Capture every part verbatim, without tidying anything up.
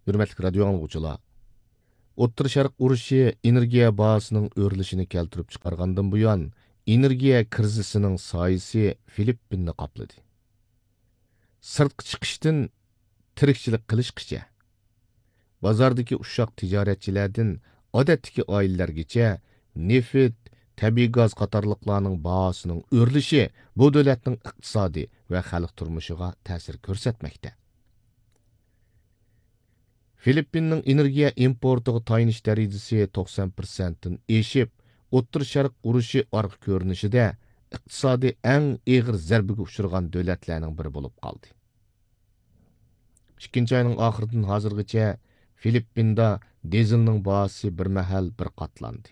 ھۆرمەتلىك رادىيو ئاڭلىغۇچىلار! ئوتتۇرا شەرق ئۇرۇشى ئېنېرگىيە باھاسىنىڭ ئۆرلىشىنى كەلتۈرۈپ چىقارغاندىن بۇيان، ئېنېرگىيە كىرىزىسىنىڭ سايىسى فىلىپپىننى قاپلىدى. سىرتقا چىقىشتىن تىرىكچىلىك قىلىشقىچە، بازاردىكى ئۇششاق تىجارەتچىلەردىن ئادەتتىكى ئائىلىلەرگىچە نېفىت، تەبىئىي گاز قاتارلىقلارنىڭ باھاسىنىڭ ئۆرلىشى بۇ دۆلەتنىڭ ئىقتىسادى ۋە خەلق تۇرمۇشىغا تەسىر كۆرسەتمەكتە. فىلىپپىننىڭ ئېنېرگىيە ئىمپورتىغا تايىنىش دەرىجىسى توقسان پىرسەنتتىن ئېشىپ، ئوتتۇرا شەرق ئۇرۇشى ئارقا كۆرۈنۈشىدە ئىقتىسادى ئەڭ ئېغىر زەربىگە ئۇچرىغان دۆلەتلەرنىڭ بىرى بولۇپ قالدى. ئىككىنچى ئاينىڭ ئاخىرىدىن ھازىرغىچە فىلىپپىندا دىزېلنىڭ باھاسى بىر مەھەل بىر قاتلاندى.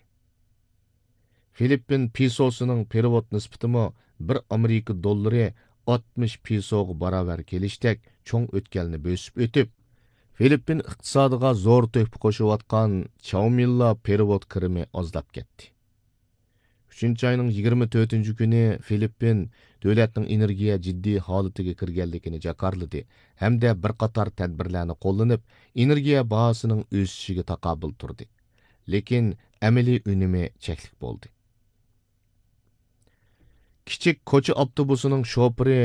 فىلىپپىن پېسوسىنىڭ پېرېۋوت نىسبىتىمۇ بىر ئامېرىكا دوللىرى ئاتمىش پېسوغا باراۋەر كېلىشتەك چوڭ ئۆتكەلنى بۆسۈپ ئۆتۈپ، فىلىپپىن ئىقتىسادىغا زور تۆھپە قوشۇۋاتقان چاۋمىنلا پېرېۋوت كىرىمى ئازلاپ كەتتى. ئۈچىنچى ئاينىڭ يىگىرمە تۆتىنچى كۈنى فىلىپپىن دۆلەتنىڭ ئېنېرگىيە جىددىي ھالىتىگە كىرگەنلىكىنى جاكارلىدى ھەمدە بىر قاتار تەدبىرلەرنى قوللىنىپ، ئېنېرگىيە باھاسىنىڭ ئۆسۈشىگە تاقابىل تۇردى. لېكىن ئەمەلىي ئۈنۈمى چەكلىك بولدى. كىچىك كوچا ئاپتوبۇسىنىڭ شوپۇرى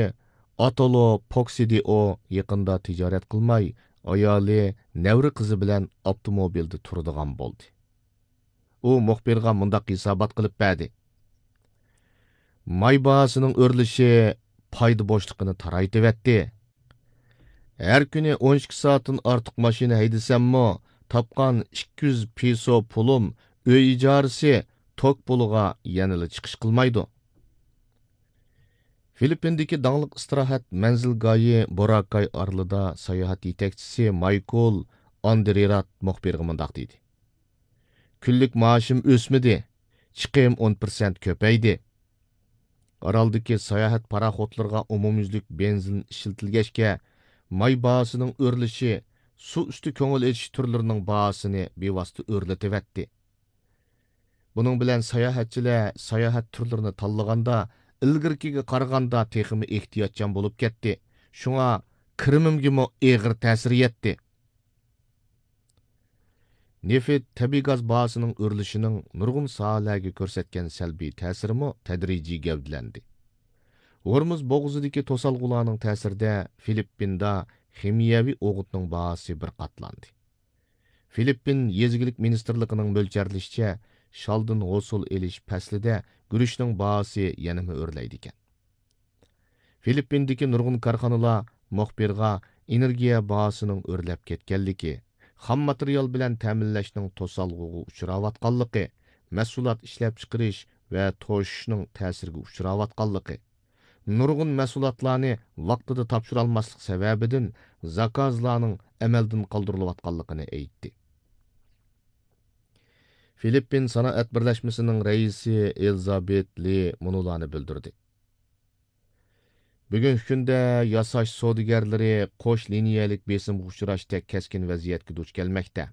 ئاتولو پوكسىدىئو يېقىندا تىجارەت قىلماي، ئايالى، نەۋرە قىزى بىلەن ئاپتوموبىلدا تۇرىدىغان بولدى. ئۇ مۇخبىرغا مۇنداق ھېسابات قىلىپ بەردى: ماي باھاسىنىڭ ئۆرلىشى پايدا بوشلۇقىنى تارايتىۋەتتى. ھەر كۈنى ئون ئىككى سائەتتىن ئارتۇق ماشىنا ھەيدىسەممۇ، تاپقان ئىككى يۈز پېسو پۇلۇم ئۆي ئىجارىسى، توك پۇلىغا يەنىلا چىقىش قىلمايدۇ. فىلىپپىندىكى داڭلىق ئىستىراھەت مەنزىلگاھى بوراكاي ئارىلىدا ساياھەت يېتەكچىسى مايكل ئاندرېرات مۇخبىرغا مۇنداق دېدى: كۈنلۈك مائاشىم ئۆسمىدى، چىقىم ئون پىرسەنت كۆپەيدى. ئارالدىكى ساياھەت پاراخوتلىرىغا ئومۇميۈزلۈك بېنزىن ئىشلىتىلگەچكە، ماي باھاسىنىڭ ئۆرلىشى سۇ ئۈستى كۆڭۈل ئېچىش تۈرلىرىنىڭ باھاسىنى بىۋاسىتە ئۆرلىتىۋەتتى. بۇنىڭ بىلەن ساياھەتچىلەر ساياھەت تۈرلىرىنى تاللىغاندا، ئىلگىرىكىگە قارىغاندا تېخىمۇ ئېھتىياتچان بولۇپ كەتتى. شۇڭا كىرىمىمگىمۇ ئېغىر تەسىر يەتتى. نېفىت، تەبىئىي گاز باھاسىنىڭ ئۆرلىشىنىڭ نۇرغۇن ساھەلەرگە كۆرسەتكەن سەلبىي تەسىرىمۇ تەدرىجىي گەۋدىلەندى. ھورمۇز بوغۇزىدىكى توسالغۇلارنىڭ تەسىرىدە فىلىپپىندا خىمىيەۋى ئوغۇتنىڭ باھاسى بىر قاتلاندى. فىلىپپىن يېزا ئىگىلىك مىنىستىرلىقىنىڭ مۆلچەرلىشىچە، شالدىن ھوسۇل ئېلىش پەسلىدە گۈرۈچنىڭ باھاسى يەنىمۇ ئۆرلەيدىكەن. فىلىپپىندىكى نۇرغۇن كارخانىلار مۇخبىرغا ئېنېرگىيە باھاسىنىڭ ئۆرلەپ كەتكەنلىكى، خام ماتېرىيال بىلەن تەمىنلەشنىڭ توسالغۇغا ئۇچراۋاتقانلىقى، مەھسۇلات ئىشلەپچىقىرىش ۋە توشۇشنىڭ تەسىرگە ئۇچراۋاتقانلىقى، نۇرغۇن مەھسۇلاتلارنى ۋاقتىدا تاپشۇرالماسلىق سەۋەبىدىن زاكازلارنىڭ ئەمەلدىن قالدۇرۇلۇۋاتقانلىقىنى ئېيتتى. فىلىپپىن سانائەت بىرلەشمىسىنىڭ رەئىسى ئېلىزابېت لى مۇنۇلارنى بىلدۈردى: بۈگۈنكى كۈندە ياساش سودىگەرلىرى قوش لىنىيەلىك بېسىمغا ئۇچراشتەك كەسكىن ۋەزىيەتكە دۇچ كەلمەكتە.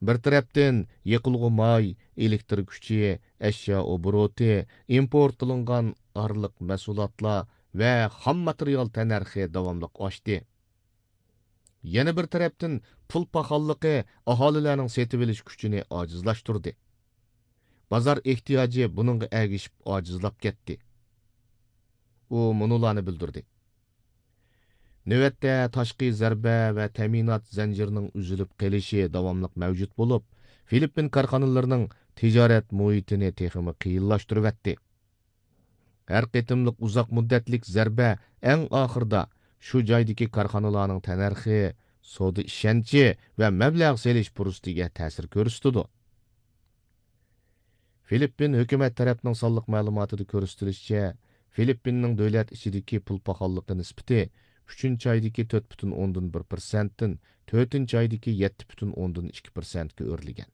بىر تەرەپتىن، يېقىلغۇ ماي، ئېلېكتىر كۈچى، ئەشيا ئوبوروتى، ئىمپورت قىلىنغان ئارىلىق مەھسۇلاتلار ۋە خام ماتېرىيال تەننەرخى داۋاملىق ئاشتى. يەنە بىر تەرەپتىن، پۇل پاخاللىقى ئاھالىلەرنىڭ سېتىۋېلىش كۈچىنى ئاجىزلاشتۇردى. بازار ئېھتىياجى بۇنىڭغا ئەگىشىپ ئاجىزلاپ كەتتى. ئۇ مۇنۇلارنى بىلدۈردى: نۆۋەتتە تاشقى زەربە ۋە تەمىنات زەنجىرىنىڭ ئۈزۈلۈپ قېلىشى داۋاملىق مەۋجۇت بولۇپ، فىلىپپىن كارخانىلىرىنىڭ تىجارەت مۇھىتىنى تېخىمۇ قىيىنلاشتۇرۇۋەتتى. ھەر قېتىملىق ئۇزاق مۇددەتلىك زەربە ئەڭ ئاخىرىدا شۇ جايدىكى كارخانىلارنىڭ تەننەرخى، سودا ئىشەنچى ۋە مەبلەغ سېلىش پۇرسىتىگە تەسىر كۆرسىتىدۇ. فىلىپپىن ھۆكۈمەت تەرەپنىڭ سانلىق مەلۇماتىدا كۆرسىتىلىشىچە، فىلىپپىننىڭ دۆلەت ئىچىدىكى پۇل پاخاللىقى نىسبىتى ئۈچىنچى ئايدىكى تۆت پۈتۈن ئوندىن بىر پىرسەنتتىن تۆتىنچى ئايدىكى يەتتە پۈتۈن ئوندىن ئىككى پىرسەنتكە ئۆرلىگەن.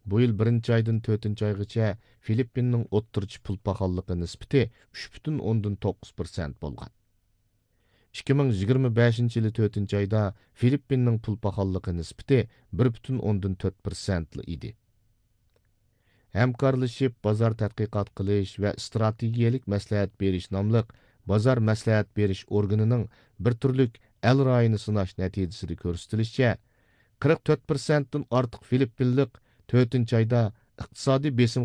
بۇ يىل بىرىنچى ئايدىن تۆتىنچى ئايغىچە فىلىپپىننىڭ ئوتتۇرىچە پۇل پاخاللىقى نىسبىتى ئۈچ پۈتۈن ئوندىن توققۇز پىرسەنت بولغان. ئىككى مىڭ يىگىرمە بەشىنچى يىلى تۆتىنچى ئايدا فىلىپپىننىڭ پۇل پاخاللىقى نىسبىتى بىر پۈتۈن ئوندىن تۆت پىرسەنتلا ئىدى. ھەمكارلىشىپ بازار تەتقىقات قىلىش ۋە ئىستراتېگىيەلىك مەسلىھەت بېرىش ناملىق بازار مەسلىھەت بېرىش ئورگىنىنىڭ بىر تۈرلۈك ئەل رايىنى سىناش نەتىجىسىدە كۆرسىتىلىشىچە، قىرىق تۆت پىرسەنتتىن ئارتۇق فىلىپپىنلىق تۆتىنچى ئايدا ئىقتىسادىي بېسىمغا